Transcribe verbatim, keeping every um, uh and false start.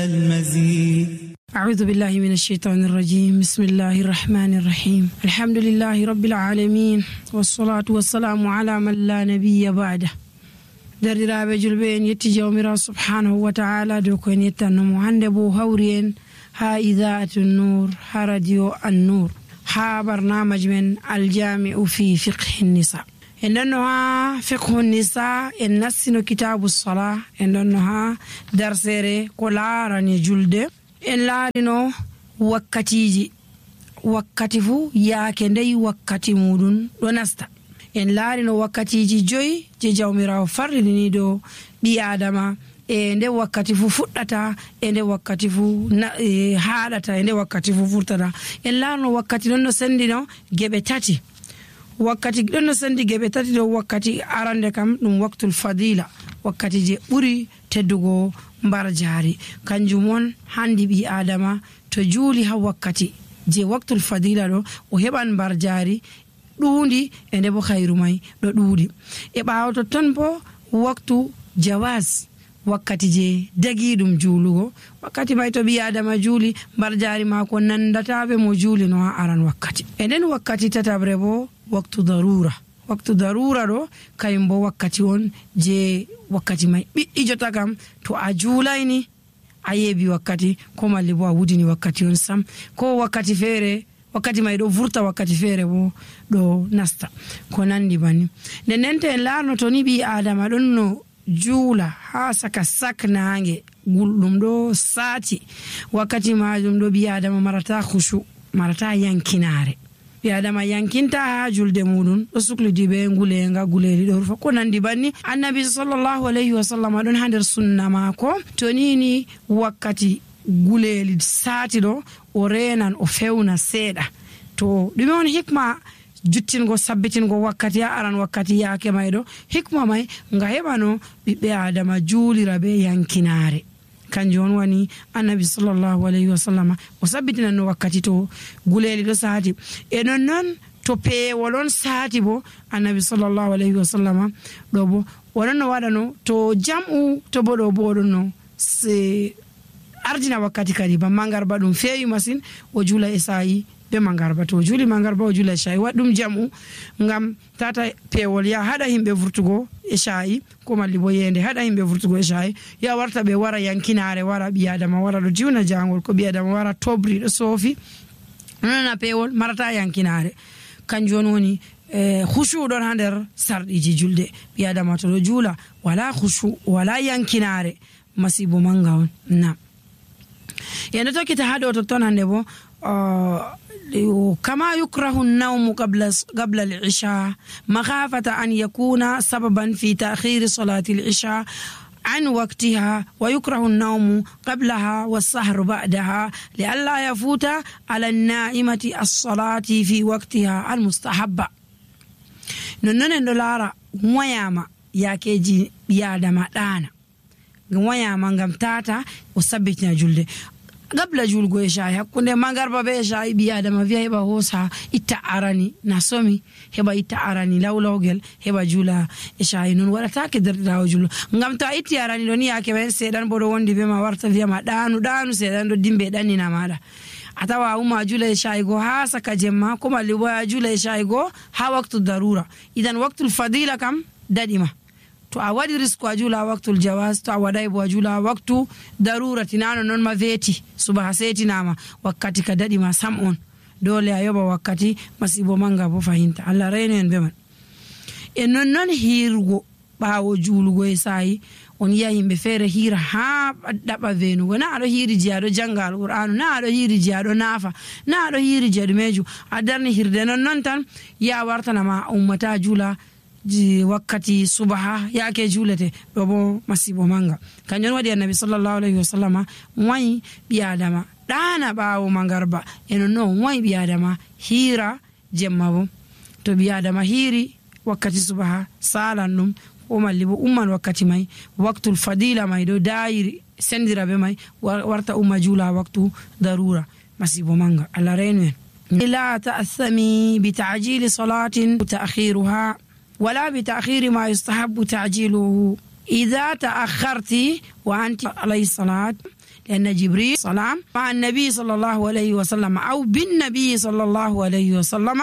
المزيد. أعوذ بالله من الشيطان الرجيم. بسم الله الرحمن الرحيم. الحمد لله رب العالمين والصلاة والسلام على من لا نبي بعده. درiraɓe julɓe en yetti jawmirawo subhanahu wa ta'ala dow ko en yettannomo hande bo hawri en ha idaatu nur ha radio an-nur ha barnamaji men aljami'u fi fiqhi nisa. en ɗonno ha fiqhu nisa en nassino kitabu sala, en ɗonno ha darsere ko laarani julde. en laarino wakkatiji, wakkati fu yaake ndey wakkati muɗum ɗo nasta. en laarino wakkatiji joyi je jawmirawo farlini do ɓi adama e nde wakkati fu fuɗɗata e nde wakkati fu e haɗata e nde wakkati fu furtata. en laarino wakkati ɗon no sendino geɓe tati. wakkati ɗon no sendi geɓe tati ɗo wakkati arande kam ɗum waktul fadila, wakkati je ɓuri teddugo mbar jaari. kanjum on handi ɓi adama to juuli ha wakkati je waktul fadila ɗo o heɓan mbar jaari ɗuundi e nde bo hayru may ɗo ɗuuɗi. e ɓaawo totton bo waktu jawaz, wakkati je dagi ɗum juulugo, wakkati may to ɓi adama juuli mbar jaari maako nandataɓe mo juuli no ha aran wakkati. e nden wakkati tatabre bo waktu darura. waktu darura ɗo kayum bo wakkati on je wakkati may ɓiɗɗijota kam to a juulayni a yeebi wakkati, ko malli bo a wudini wakkati on sam, ko wakkati feere wakkati may ɗo vurta, wakkati feere bo ɗo nasta, ko nandi bani. nden nden to en laarno to ni ɓi adama ɗon no juula ha saka sak nange gulɗum ɗo saati, wakkati majum ɗo ɓi adama marata khushu, marata yankinare. ɓi adama yankinta ha julde muɗum, ɗo suklidi ɓe ngulenga guleli ɗo rufa, ko nandi banni. annabi sallallahu alayhi wa sallam ɗon ha nder sunna maako to nini wakkati guleli saati ɗo o renan o fewna seeɗa. to ɗume on hikma juttingo sabbitingo wakkati ha aran wakkati yaake may ɗo? hikma may nga heɓano ɓiɓɓe adama juulira be yankinare. kanjum on wani annabi sallallahu alayhi wa sallam o sabbitinanno wakkati to guleli ɗo saati. e non noon to peewol on saati bo annabi sallallahu alayhi wa sallam ɗo bo oɗon no waɗano to jam'u, to bo ɗo bo oɗon no se ardina wakkati kadi ba mangarba ɗum feewi masin o juula e sayi be mangarba. to juuli mangarba o juula e shayi, waɗ ɗum jam'u ngam tata peewol ya haɗa himɓe vurtugo e shayi, ko malli bo yende haɗa himɓe vurtugo e shayi, ya warta ɓe wara yankinare, wara ɓi adama wara ɗo jiwna jangol, ko ɓi adama wara tobri ɗo soofi, nonana peewol marata yankinare. kanjum on woni e khushu ɗon ha nder sarɗiji julde. ɓi adama to ɗo juula wala khushu wala yankinare, masibo manga on. na yende tokkita ha ɗo totton hande bo كما يكره النوم قبل قبل العشاء مخافة أن يكون سببا في تأخير صلاة العشاء عن وقتها، ويكره النوم قبلها والسهر بعدها لئلا يفوت على النائمة الصلاة في وقتها المستحبة. ننن دولارا وياما ياكيجي يادما دانا وياما ngam tata o sabbitina julde gabla julgo e shayi hakkunde mangarba be shayi ɓi adama wiya heɓa hosa itta arani na somi, heɓa itta arani lawlawgel heɓa juula e shayi. non waɗatake derɗirawo jullo, ngam to a itti arani ɗo ni yake ɓen seeɗan bo ɗo wondi be ma warta wiyama ɗanu ɗanu seeɗan ɗo dimbe ɗannina maɗa. a tawa uma juula e shayi go ha saka jemma, ko malli bo a juula e shayi go ha waktu darura. idan waktul fadila kam daɗima. to a waɗi risque a juula waktul jawaz, to a waɗay bo a juula waktu darurati, nano non ma veeti subaha setinama wakkati ka daɗi ma sam on, dole a yoɓa wakkati, masibo manga bo fahinta. allah reyno en be man. e non non hirgo ɓawo juulugo e sayi on yiya yimɓe feere hira ha ɗaɓa venugo, na aɗo hiri je aɗo janga alqur'anu, na aɗo hiri je aɗo naafa, na aɗo hiri je ɗumeju, a darni hirde non non tan ya wartanama ummata juula wakkati subaha yake juulete ɗo bo masibo manga. kanjum waɗi annabi sallallahu alayhi wa sallam wayi ɓi adama ɗana ɓawo mangarba, e non noon wayi ɓi adama hira jemma bo. to ɓi adama hiri wakkati subaha salan ɗum, ko malli bo umman wakkati may waktul fadila may ɗo dayiri sendira be may warta umma juula waktu darura, masibo manga. allah reynu en. la ta'athami bi ta'jili salatin ta'khiruha ولا بتأخير ما يستحب تعجيله إذا تأخرت وأنت على الصلاة لأن جبريل سلام مع النبي صلى الله عليه وسلم أو بالنبي صلى الله عليه وسلم